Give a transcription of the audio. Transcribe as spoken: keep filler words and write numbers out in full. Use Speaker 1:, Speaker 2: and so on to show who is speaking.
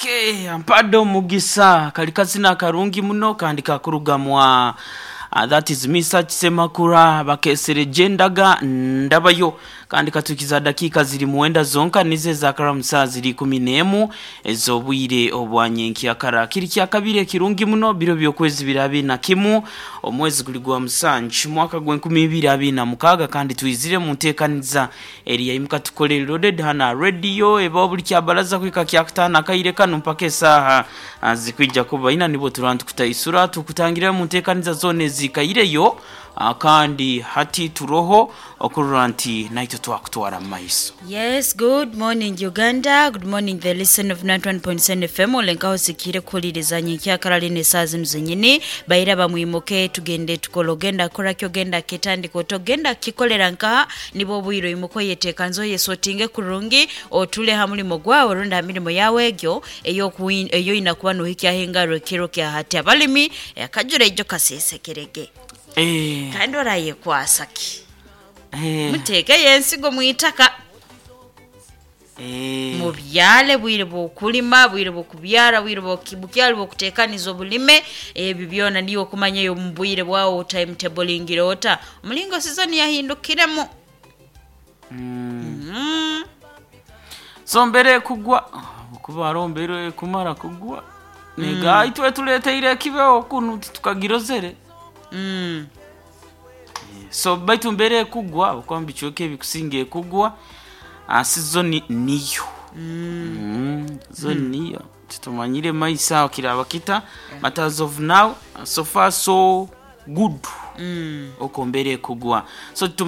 Speaker 1: Okay, ampadde omugisa kali kazina karungi muno kandi kakurugamwa. Uh, that is Misa Kisemakura bakesereje endaga ndabayo kandi katukiza dakiika ziri muwenda zonka nize zakaramu saa ziri ikumi n'emu ez'obwire obwanyenkyakara. Kiri kyakabiri ekirungi muno biro by'okwezi biri abiri na kimu, omwezi guli gwa musanju, mwaka gw'enkumi ibiri abiri na mukaaga, kandi twizire mu nteekaniza eri yaimuka tukole loaded hana radio eba buli kyabaraza kwika kyakutaano akaire kano mpaka esaaha ah, zikwija kuba ina nibwo tuba tukutaisura tukutangira mu nteekaniza zoona ezikaireyo, ah, kandi hati turoho okurora nti naitwe twakutwara mu maiso.
Speaker 2: Yes, good morning, Uganda. Good morning, the listen of ninety-one point seven F M. Olenkaho sikire kuhuliriza nyenkyakara lino esaaha zinu zenyini. Baira bamwimuke tugende tukole, ogenda kora ki, ogenda kitandika otogenda kikolera nkaha nibwo obwire oyimuka oyeteekanze oyesotinge kurungi otule ha mulimo gwawe rundi ha mirimo yawe egyo eyokuwi- eyoyina kuba nohikyaho engaro ekiro kya hati. Abalimi akajura ijo kasesekerege
Speaker 1: Eh,
Speaker 2: kandi orayekwasa ki?
Speaker 1: eh,
Speaker 2: Muteekeyo ensigo mwitaka,
Speaker 1: eh.
Speaker 2: mubyale bwire bwokulima, bwire bwokubyara, bwire bwoki- bukyali bwokutekaniza obulime. Ebyo byona niyo okumanyayo mu bwire bwawe timetabling ota omulingo season yahindukiremu.
Speaker 1: Mm.
Speaker 2: Mm.
Speaker 1: So mbere kugwa kuba hariho mbere kumara kugwa nega itwe tuleteire ekibeho kunu titukagirozere.
Speaker 2: Mm.
Speaker 1: So baitu mbere ekugwa okuba mubicweka ebikusinga ekugwa, ah, season niyo mm. Season niyo titumanyire maiso aho kiraba kita, but as of now, so far so good.
Speaker 2: Mm.
Speaker 1: Oko mbere ekugwa so tuma